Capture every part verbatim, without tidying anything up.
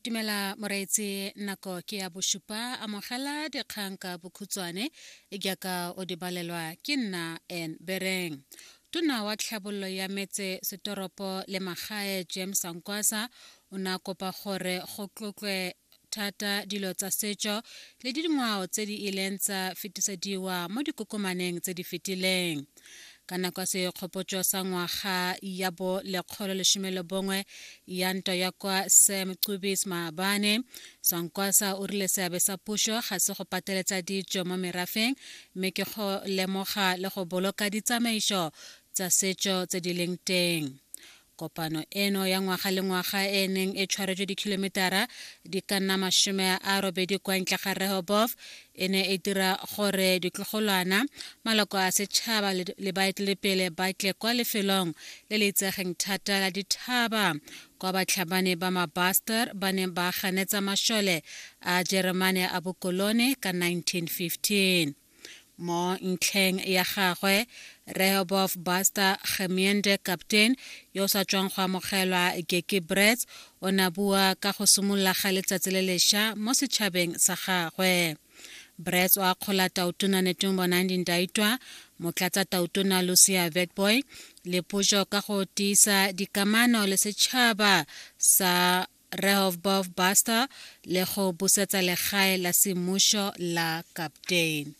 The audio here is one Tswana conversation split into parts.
Dumela moreetsi, nako ke ya bosupa. Amogela dikgang ka bokhutshwane jaaka o di balelwa ke nna N Bereng. Tona wa tlhabololo ya metse setoropo le magae James Sankwasa o ne a kopa gore go tlotlwe thata dilo tsa setso le dingwao tse di ileng tsa fetisediwa mo dikokomaneng tse di fetileng. Ka nako ya segopotso sa ngwaga ya bo lekgolo lesome le bongwe ya ntwa ya kwa Sam Cubis maabane, Sankwasa o rile seabe sa puso ga se go pateletsa ditso mo merafeng, mme ke go lemoga le go boloka ditsamaiso tsa setso tse di leng teng. Kopano eno ya ngwaga le ngwaga e neng e tshwaretswe dikilometara di ka nna masome a robedi kwa ntle ga Rehoboth e ne e dira gore ditlogolwana, maloko a setšhaba le baeteledipele ba tle kwa lefelong le le itsegeng thata la dithaba kwa batlhabani ba mabaster ba neng ba ganetsa mašole a Jeremane a bokolone ka nineteen fifteen. Mo ntlheng ya gagwe, Rehoboth Buster Gemeente Captain yo o sa tswang go amogelwa Geki Brets o ne a bua ka go simolola ga letsatsi le lešwa mo setšhabeng sa gagwe. Brets o akgola Tautona Netumbo Nandi-Ndaitwah, motlatsa Tautona Lucia Witbooi le puso ka go tiisa dikamano le setšhaba sa Rehoboth Buster le go busetsa legae la semmušo la Captain.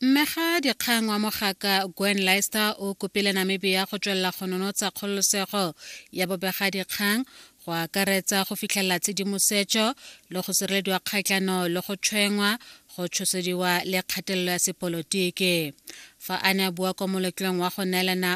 Mmega dikgang wa mogaka Gwen Leister o kopile Namibia go tswelela go nonotsa kgololosego ya bobegadikgang, go akaretsa go fitlhelela tshedimosetso le go sirelediwa kgatlhano le go tshwenngwa, go tshosediwa le kgatelelo ya sepolotiki. Fa a ne a bua kwa moletlong wa go neelana